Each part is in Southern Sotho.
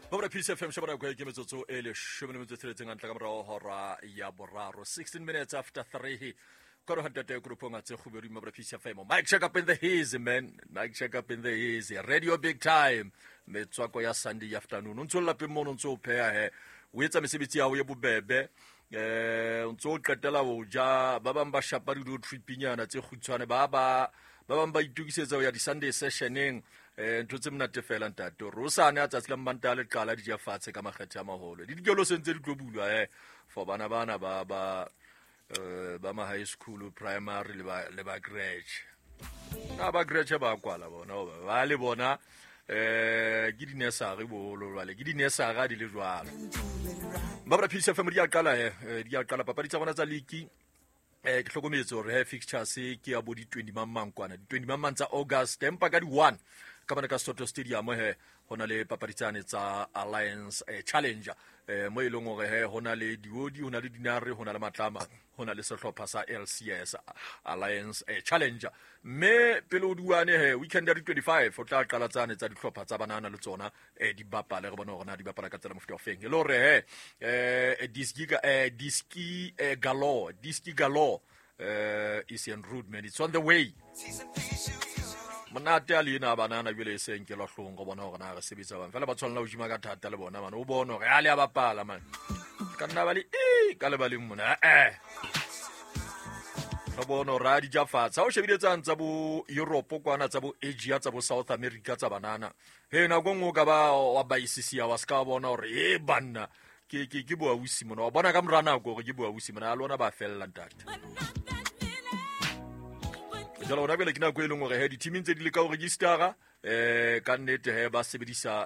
Babra Peace FM shebana kwa ke metsotso e leshome le metso e tsheletseng hantle ka morao hora ya boraro, 16 minutes after 3 koro hantate grupong a tse kgubedu. Mabra Peace FM, mic check up in the haze, man, mic check up in the haze radio, big time metswako ya Sunday afternoon. O ntso le lapeng mono, o ntso o pheha he, o etsa mesebetsi ya hao ye bobebe, o ntso o qetela ho ja. Ba bang ba shapa di tripinyana tse kgutshwane, ba bang ba itokisetsa ho ya di-Sunday sessioneng. Ntho tse monate fela ntate hore o sane a tsatsi la Mmanta le qala di ja fatshe ka makgethe a maholo le dikolo se ntse di tlo bulwa for bana bana ba ma high school, primary le ba crèche. Na ba crèche ba kwala bona hoba ba le bona ke di-nursery boholo, jwale ke di-nursery a di le jwalo. Babra Peace FM, di a qala he, di a qala papadi tsa bona tsa league. Ke hlokometse hore he fixtures ke ya bo di-20 mang mang kwana, di-20 mang mang tsa August, empa ka di-1 ka bana ka Soto Stadium he ho na le papadi tsane tsa Alliance Challenger, mo e leng hore he ho na le Diodi, ho na le Dinare, ho na le Matlama, ho na le sehlopha sa LCS Alliance Challenger. Mme pele o duane he weekend ya di-25 o tla qala tsane tsa dihlopha tsa banana le tsona di bapale, re bone hore na di bapala ka tsela mofuta o feng, e le hore he diski galore, diski galore is en route, man, it's on the way. Monate a le ena a banana jwale e seng ke lahlong go bona hore na re sebetsa bang fela ba tshwanela ho jima ka thata le bona man, o bone hore a le a bapala man, ka nna ba le e ka lebaleng mona re bone hore a di ja fatshe. Ha o shebile tsang tsa bo Europe kwana, tsa bo Asia, tsa bo South America tsa banana he, nako nngwe o ka ba wa baisisia wa se ka bona hore e banna ke boausi mona, wa bona ka mora nako hore ke boausi mona a lona ba fella ntate. Jalo hona bjale ke nako e leng hore he di-teaming tse di leka ho registera ka nnete he ba sebedisa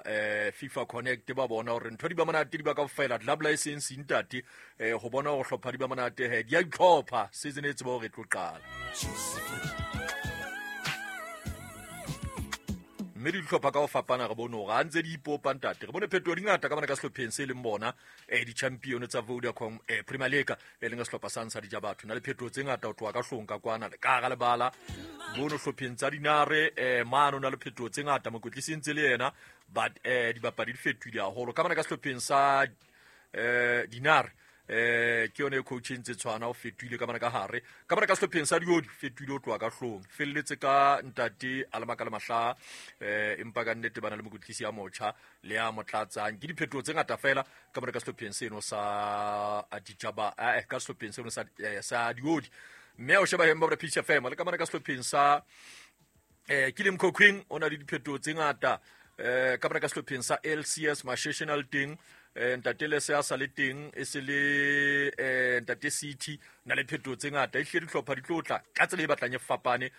FIFA Connect, ba bona hore ntho di ba monate, di ba ka fela club license ntate, ho bona hore hlopha di ba monate he di a itlhopha season e tseba hore e tlo qala. Mme di dihlopha ka ho fapana re bone hore ha ntse di ipopa ntate, re bone phetoho di ngata ka bana ka sehlopheng se leng bona di-champion tsa Vodacom Premier League, e leng sehlopha sa ntsha dija batho na le phetoho tse ngata ho tloha ka hlong ka kwana le ka hara lebala bono hlopheng tsa Dinare mano na le phetoho tse ngata, mokwetlisi ntse le yena, but dibapadi di fetohile haholo ka bana ka sehlopheng sa Dinare. Ke yone e coach e ntse tshwana, o fetohile ka bana ka hare, ka bana ka sehlopheng sa Diodi fetohile ho tloha ka hlong, felletse ka ntate Alemaka le Mahlaha, empa ka nnete bana le mokwetlisi ya motjha le ya mo tlatsang. Ke diphetoho tse ngata fela ka bana ka sehlopheng seno sa Ditjaba, ka sehlopheng seno sa Diodi. Mme o sheba hemba Peace FM le ka bana ka sehlopheng sa ke le Mkhokhwing, o na le diphetoho tse ngata ka bana ka sehlopheng sa LCS Masheshenal teng, ntate Lese a sa le teng, e se le ntate City na le phetoho tse ngata. E hlile dihlopha di tlo tla ka tsela e batlang e fapane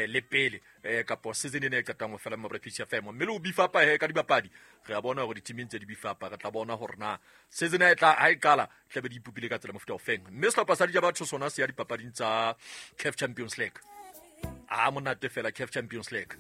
le pele kapo season ena e qetang ho fela Mabra Peace FM. Mme le ho bifapa he ka dibapadi, re a bona hore di-teaming tse di bifapa. Re tla bona hore na season e tla ha e qala tlabe di ipopile ka tsela mofuta o feng. Mme sehlopha sa Dija Batho sona se ya dipapading tsa CAF Champions League, a monate fela CAF Champions League.